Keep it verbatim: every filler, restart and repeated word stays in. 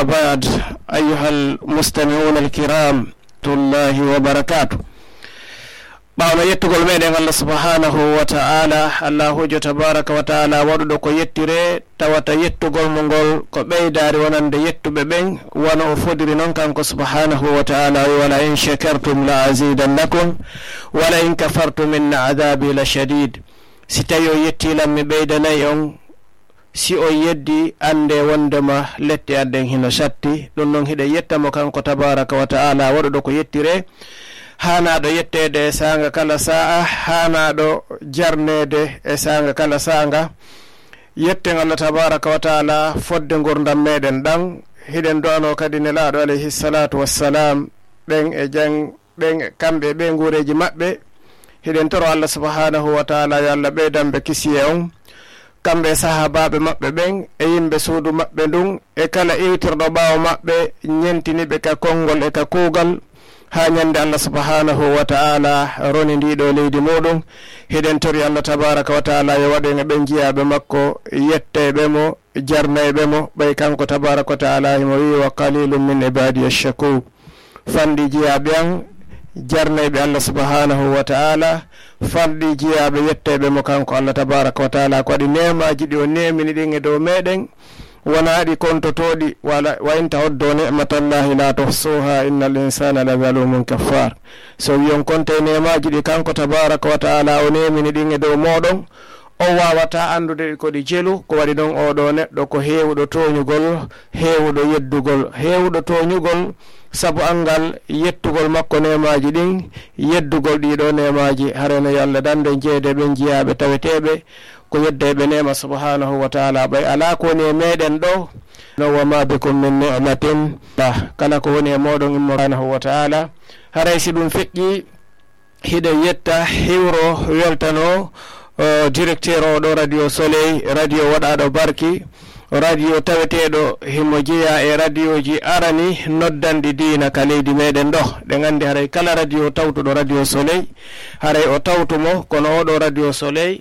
وبعد، أيها المستمعون الكرام، ورحمة الله وبركاته. Ɓawno yettugol meɗen Allah subhanahu wa ta'ala, Allahu jo tabaraka wa ta'ala waɗuɗo ko yettire, tawata yettugol mo ngol ko ɓeydaari wonande yettuɓe ɓen, wano o fodiri non kanko subhanahu wa ta'ala, o wi, "Wala in shakartum la azidannakum, wala in kafartum inna adhabi la shadid." Si tawi o yetti lan, mi ɓeydanay on. Si o yeddi, annde wondema lette an ɗen hino satti. Ɗum non hiɗen yetta mo kanko tabaraka wa ta'ala, waɗuɗo ko yettire, haanaaɗo yetteede e saanga kala saa'a, haanaaɗo jarneede e saanga kala saanga. Yetten Allah tabaraka wa ta'ala fodde ngurndan meɗen ɗan. Hiɗen do'ano kadi Nelaaɗo alayhi salatu wassalam, ɓen e jang-, ɓen, kamɓe e ɓe nguureeji maɓɓe. Hiɗen toro Allah subhanahu wa ta'ala yo Allah ɓeydan ɓe kisiyee on, kamɓe e sahaabaaɓe maɓɓe ɓen, e yimɓe suudu maɓɓe ndun, e kala iwtirɗo ɓaawo maɓɓe, ñentini ɓe ka konngol e ka kuugal, haa ñande Allah subhanahu wa ta'ala roni ndii ɗoo leydi muuɗum. Hiɗen tori Allah tabaraka wa ta'ala yo waɗu en e ɓen jiyaaɓe makko, yettayɓe mo, jarnayɓe mo, ɓay kanko tabaraka wa ta'ala himo wi'i, "Wa qalilun min ibadiya shakur." Fanɗi jiyaaɓe an, jarnayɓe Allah subhanahu wa ta'ala, fanɗi jiyaaɓe yettayɓe mo kanko Allah tabaraka wa ta'ala, ko waɗi neemaaji ɗi o neemini ɗin e dow meɗen, wonaa ɗi kontotooɗi, wala, "Wa in ta'uddu ni'matallahi la tuhsuha, innal insana la zalumun kaffar." So wi'on konte neemaaji ɗi kanko tabaraka wa ta'ala o neemini ɗin e dow mooɗon, on waawataa anndude ko ɗi jelu, ko waɗi non oo ɗoo neɗɗo ko heewuɗo tooñugol, heewuɗo yeddugol, heewuɗo tooñugol sabu anngal yettugol makko neemaaji ɗin, yeddugol ɗii ɗoo neemaaji. Haray no yo Allah dandu en jeyeede ɓen jiyaaɓe taweteeɓe ko yeddayɓe neema subhanahu wa ta'ala, ɓay alaa ko woni e meɗen ɗoo. No, "Wa ma bikum min ni'matin," ah, kala ko woni e mooɗon immo subhanahu wa ta'ala. Haray si ɗum feƴƴi, hiɗen yetta, hiwro, weltano, o, directeur oo ɗoo Radio Soleil, radio waɗaaɗo barki, radio taweteeɗo himo jeyaa e radioji arani noddanɗi diina ka leydi meɗen ɗoo. Ɗen anndi haray kala radio tawtuɗo Radio Soleil, haray o tawtu mo, kono oo ɗoo Radio Soleil,